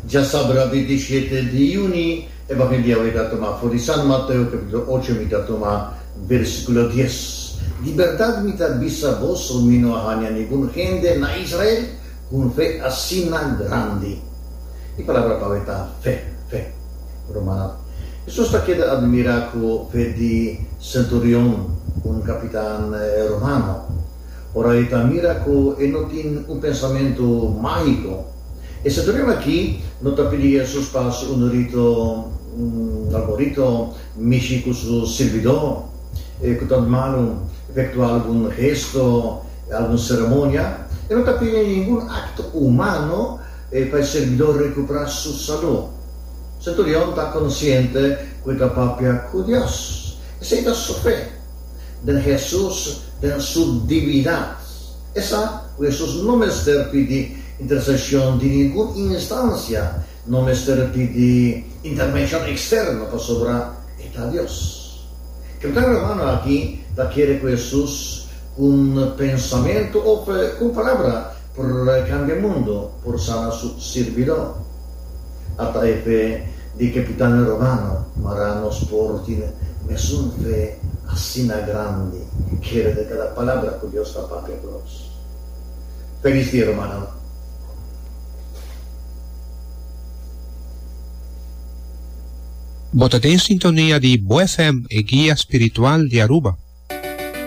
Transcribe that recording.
Djasabra 27 di yüni, Evangelio di awe ta tuma for di San Mateo capítulo ocho mi ta tuma versículo dies. Di berdad mi ta bisa boso mi no a haña ningun hende na Israel ku un fe asina grandi. E palabra pa awe ta fe, fe. Rumannan, Hesus ta keda admirá ku fe di senturion, un kapitan romano. Ora e ta mira ku e no tin un pensamentu mágiko. E senturion aki no ta pidi Hesus pa hasi un rito, algun rito mishi ku su sirbidó ku ta malu, efektuá algun gesto, algun seremonia. E no ta pidi ningun akto humano pa e sirbidó rekuperá su salú. Senturion ta konsiente ku e ta papia ku Dios. Esei ta su fe. Den Hesus, den su divinidad. E sa ku Hesus no mester pidi interseshon di ningun instancia, no mester pidi intervenshon eksterno pasobra e ta Dios. Kapitan romano aki ta kere ku Hesus ku un pensamentu òf ku un palabra por kambia mundu, por sana su sirbidó. Ata e fe di kapitan romano, mara nos por tin mesun fe asina grandi, kere den kada palabra ku Dios ta papia ku nos. Felis dia, rumannan. Bo ta den sintonia di Bo FM, e guia spiritual di Aruba.